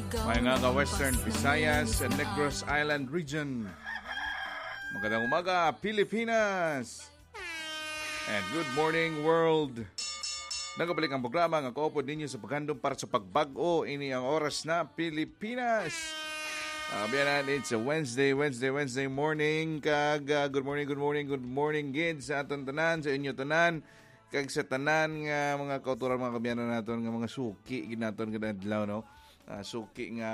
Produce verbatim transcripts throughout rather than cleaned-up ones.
May nga ka Western Visayas and Negros Island region. Magandang umaga, Pilipinas! And good morning, world! Nagabalik ang programa nga kaupod ninyo sa paghandom para sa pagbag-o. Ini ang oras na Pilipinas. Ah, biyanan, it's a Wednesday, Wednesday, Wednesday morning. Kag, ah, good morning, good morning, good morning, gid sa aton tanan, sa inyo tanan, kag sa tanan nga mga kauturan, mga kabiyanan naton, nga mga suki gid naton kada adlaw, no? Ah, suki nga,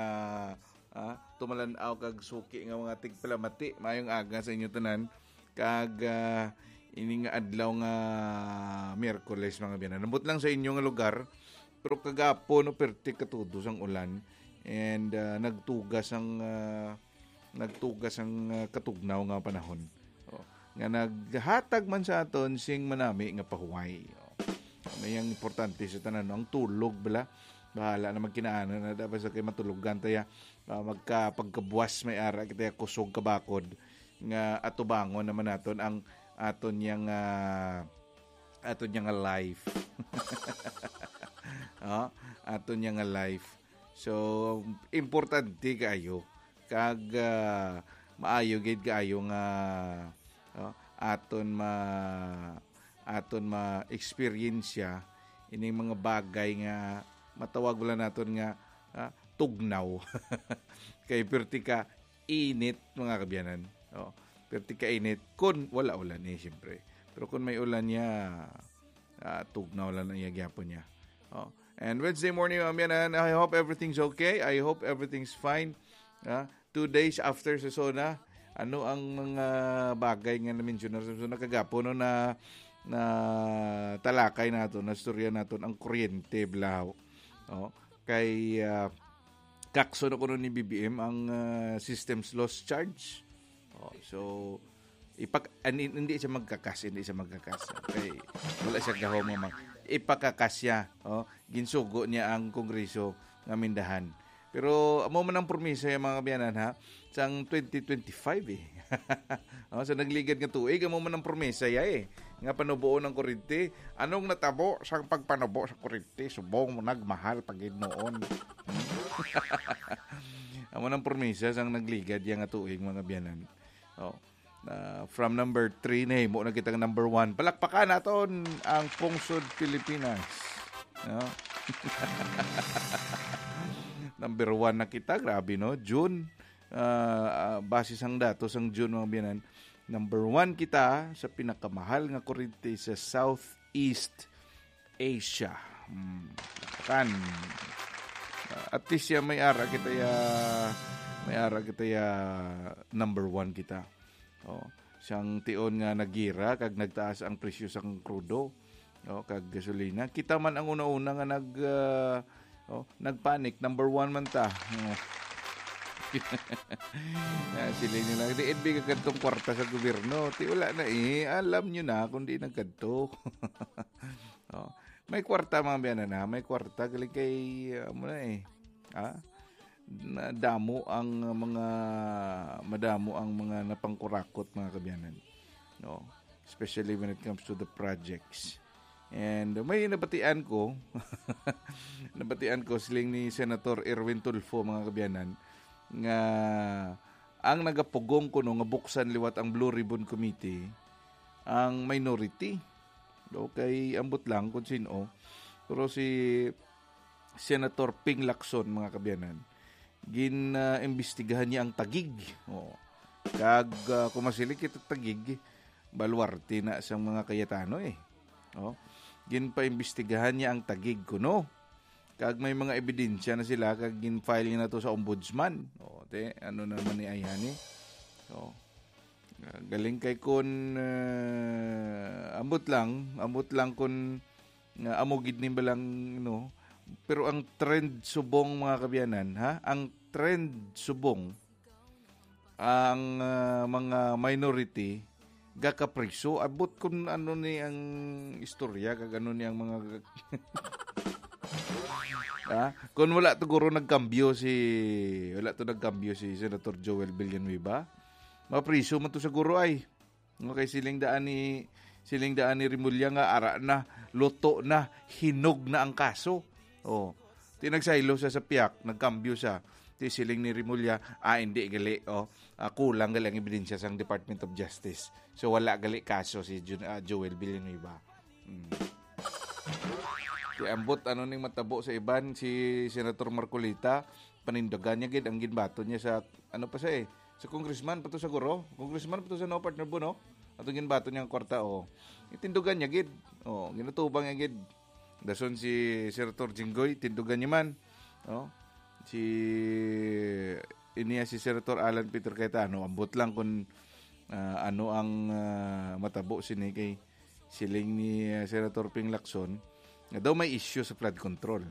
ah, tumalan-aw kag suki nga mga tigpalamati. Maayong aga sa inyo tanan. Kag, ah, ini nga adlaw nga Miyerkules, mga biyanan. Ambot lang sa inyo nga lugar, pero kagapon, no, perti katudos ang ulan. And, ah, nagtugas ang, ah, nagtugas ang, ah, katugnaw nga panahon. Oh, nga naghatag man sa aton sing manami nga pahuway. Oh. Ano yang importante sa tanan, no? Ang tulog, bala. Bahala na magkinaanan na dapat sa kay matulogan taya, ah, magka-, pagkabuwas may ara kita kusog kabakod nga atubangon naman naton ang aton yang, ah, aton yang life. Oh, aton yang life. So, importante kaayo. Kag, ah, maayo gid kaayo nga, oh, aton ma-, aton ma-experience ining mga bagay nga matawag wala naton nga, ah, tugnaw. Kay perti ka init, mga kabiyanan. Oh, perti ka init kun wala ulan, eh, siyempre. Pero kung may ulan niya, ah, tugnaw lang ang iya gyapon niya. Oh. And Wednesday morning, mga kabiyanan, I hope everything's okay. I hope everything's fine. Ah, two days after sa SONA, ano ang mga bagay nga na-mention na sa SONA kagapon, no, na, na talakay nato, na istorya nato, ang kuryente, blaw. Oh, kay, ah, kakso na kuno ni B B M ang, ah, systems loss charge. Oh, so, ipak-, an-, hindi siya magkakas, hindi siya magkakas. Okay. Wala siya gahom nga mag-, ipakakas siya. Oh, ginsugo niya ang Kongreso nga mindahan. Pero amo man ang promisa yung mga kabiyanan, ha, sang twenty twenty-five, eh. Oh, sa nagligad nga tuig, amo man ang promisa ya, eh, nga panubuon ang kurente. Anong natabo sa pagpanubo sa kurente? Subong mo nagmahal pag noon. Amo nang promisa sang nagligad ya nga tuig, mga biyanan. Oh. Na from number three, nahimo na kitang number one. Palakpakan naton ang Pungsod Pilipinas. No? Number one na kita, grabe, no? June, ah, ah, base sang datos sang June, mga biyanan, number one kita sa pinakamahal nga kurente sa Southeast Asia. Hmm, kan. Ah, at least siya may ara kita ya, may ara kita ya number one kita. Oh, siyang tion nga nagira kag nagtaas ang presyo sang krudo, oh, kag gasolina. Kita man ang una-una nga nag, ah, oh, nagpanic, number one man ta. Oh. Ah, sila nila, "Diin bi ka kadtong kwarta sa gobyerno?" Ti wala na, eh. Alam nyo na kung di nagkadto. Oh. May kwarta, mga biyanan, ha? May kwarta, galing kay, ah, mo na, eh. Ha? Na damo ang mga, madamo ang mga napangkurakot, mga kabiyanan. No? Especially when it comes to the projects. And may nabatian ko, nabatian ko siling ni Senator Erwin Tulfo, mga kabiyanan, nga ang nagapugong kuno nga buksan liwat ang Blue Ribbon Committee, ang minority. Okay, ambot lang kung sino. Pero si Senator Ping Lacson, mga kabiyanan, gin, ah, imbestigahan niya ang Taguig. Oh. Kag, ah, kung masiling kita Taguig, baluarte na sang mga Cayetano, eh. Oh. Ginpaimbestigahan niya ang Taguig kuno. Kag may mga ebidensya na sila, kag gin-file niya na to sa ombudsman. Oh, te, ano naman ni ayhan, eh? Oh. Ah, galing kay kun, ah, ambot lang, ambot lang kun nga amo gid ni balang, no? Pero ang trend subong, mga kabiyanan, ha? Ang trend subong, ang, ah, mga minority gakapriso. Abot kun ano ni ang istorya kag ano ni ang mga ha? Kun wala to guro nagkambyo si, wala to nagkambyo si Senator Joel Villanueva, mapriso man to sa guro ay. Okay, siling daan ni, siling daan ni Remulla nga ara na, luto na, hinog na ang kaso. Oh. Di nagsaylo sa sa piyak, nagkambyo sa. Di siling ni Remulla, ah, hindi gali, oh. Ah, kulang gali ang ebidensya sang Department of Justice. So, wala gali kaso si Jun-, ah, Joel Villanueva. Mm. Di ambot, ano ning matabo sa iban, si Senator Marcoleta, panindugan niya gid ang ginbaton niya sa, ano pa sa eh, sa congressman pa to sa guro. Congressman pa to sa no, partner Bo, no? Atong ginbaton niya ang kwarta, oh. Itindugan niya gid. Oh, ginatubang niya gid. Dason si Senator Jinggoy, tindugan niya man. Oh. Si, iniya si Senator Alan Peter Cayetano, ambot lang kung, ah, ano ang, ah, matabo sini kay siling ni, ah, Senator Ping Lacson, nga daw may issue sa flood control.